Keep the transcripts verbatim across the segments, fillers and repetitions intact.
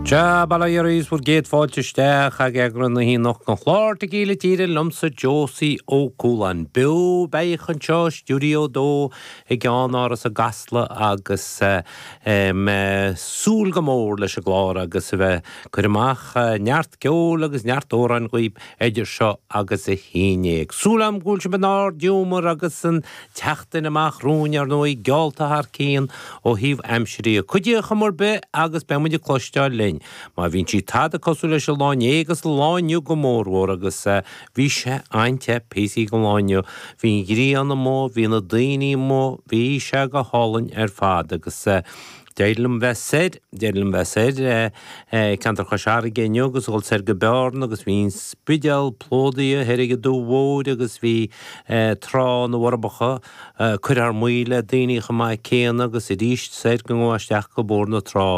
Sea, bail ó Dhia oraibh is bhur gcéad fáilte isteach ag eagrán na haon den chlár Tequila Tíre liomsa Josie Ó Cualáin. Beo beathach anseo i Stiúideo a Dó i gceannáras i gCasla agus mé súil go mór leis an gclár agus a bheith cur amach neart ceoil agus neart amhráin dhaoib idir seo agus a haon déag. Súil agam go bhfuil sibh in ard-ghiúmar agus an tseachtain amach romhainn ar ndóigh geallta thar cionn ó thaobh aimsire. Cuidíodh chuma ar bith agus beidh muid ag cloisteáil linn. Má bhíonn sí tada cosúil leis an lá inné agus an lá inniu go mórmhór agus bhí sé an-te píosaí den lá inniu. Bhí an ghrian amuigh, bhí na daoine amuigh, bhí sé go hálainn ar fad agus d'éirigh liom bheith soir, d'éirigh liom bheith soir ceantar Chois Fharraige inniu agus dhul soir go Bearna agus bhí an Spidéal plódaithe thoir ag an Dumha Mhóir agus bhí Trá na bhForbacha curtha thar maoil le daoine chomh maith céanna agus arís soir go ngabhfá isteach go Bóthar na Trá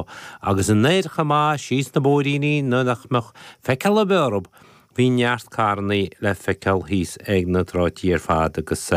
agus anoir chomh maith síos na bóithríní nuair nach mbeadh feiceáil ar bith orthu bhí neart carrannaí le feiceáil thíos ag na tráití ar fad agus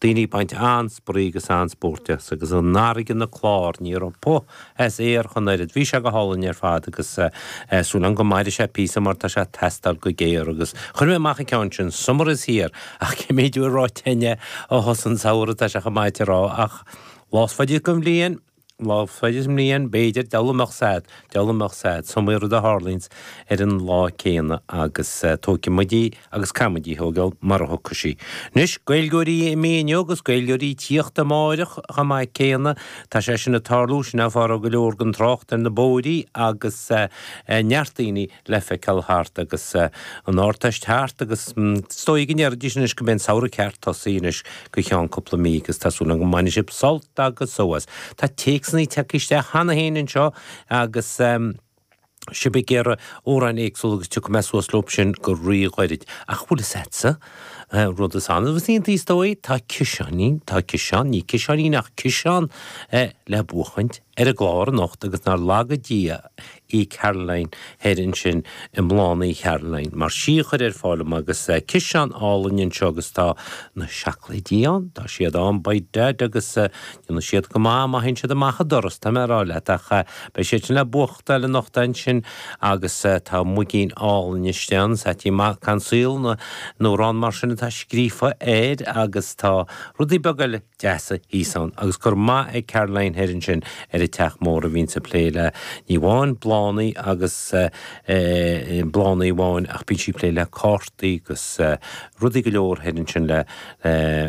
daoine ag baint an-spraoi agus an-spórt as agus an fharraige ina clár ní raibh puth as aer ach an oiread. Bhí sé go hálainn ar fad agus súil agam go mairfidh sé píosa mar tá sé ag teastáil go géar agus chuir mé amach an ceann sin Summer is here ach cé méid uair ráite againne ó thosaigh an samhradh tá sé chomh maith a rá ach lá is faide den bhliain lá is faide den mbliain b'fhéidir deabhal a mbeadh sad deabhal a mbeadh sad is iomaí rud a tharlaíonns ar an lá céanna agus tógfaidh muid í agus caithfidh muid í a thógáil mar a thiocfaidh sí. Anois Gaeilgeoirí imithe inniu agus Gaeilgeoirí tíocht amáireach chomh maith céanna tá sé sin ag tarlú sin an fáth a raibh go leor den trácht ar na bóithrí agus neart daoine le feiceáil thart agus an Ardteist thart agus is dóigh go ndéarfaidís anois go mbeidh an samhradh ceart tosaithe anois go cheann cúpla mí agus tá súil agam go mbainfidh sibh sult agus só as. Tá téacsanna tagtha isteach cheana féin anseo agus sibh ag iarraidh amhráin éagsúla agus tiocfaidh mé suas leo sin go ríghairid. Ach bhfuil fhios a'dsa rud is annamh is iontaí is dóigh, tá ciseáinín, tá ciseán, ní ciseáinín ach ciseán le buachaint ar an gclár anocht agus nár laga Dia í Caroline thoir ansin i mBláthanna Charoline mar sí a chuir ar fáil dom agus ciseán álainn anseo agus tá na seacláidí ann, tá siad ann by dad agus déanfaidh siad go maith má théann siad amach an doras, tá mé ag rá leat ach beidh siad sin le buachtáil anocht ansin agus tá muigín álainn istigh ann, Saití Mac an Saol nó amhrán mar sin atá scríofa air agus tá rudaí beaga eile deasa thíos ann agus go raibh maith ag Caroline thoir ansin ar an teach mór a bhíonns ag plé le ní amháin bláthanna agus bláthanna amháin ach bíonn sí ag plé le cártaí agus rudaí go leor thoir ansin le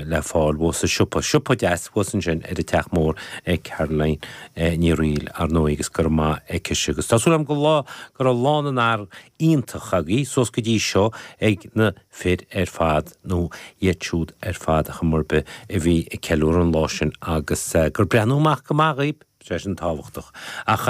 le fáil thuas sa siopa, siopa deas thuas ansin ar an teach mór ag Caroline Ní Fhrighil ar ndóigh agus go raibh maith aici agus tá súil agam go lá go raibh lá na bhfear iontach agaibh suas go dtí seo ag na fir ar fad nó iad siúd ar fad a chuma ar bith a bhí ag ceiliúradh an lá sin agus gur breathnú amach go maith dhaoib, sé sin tábhachtach. Ach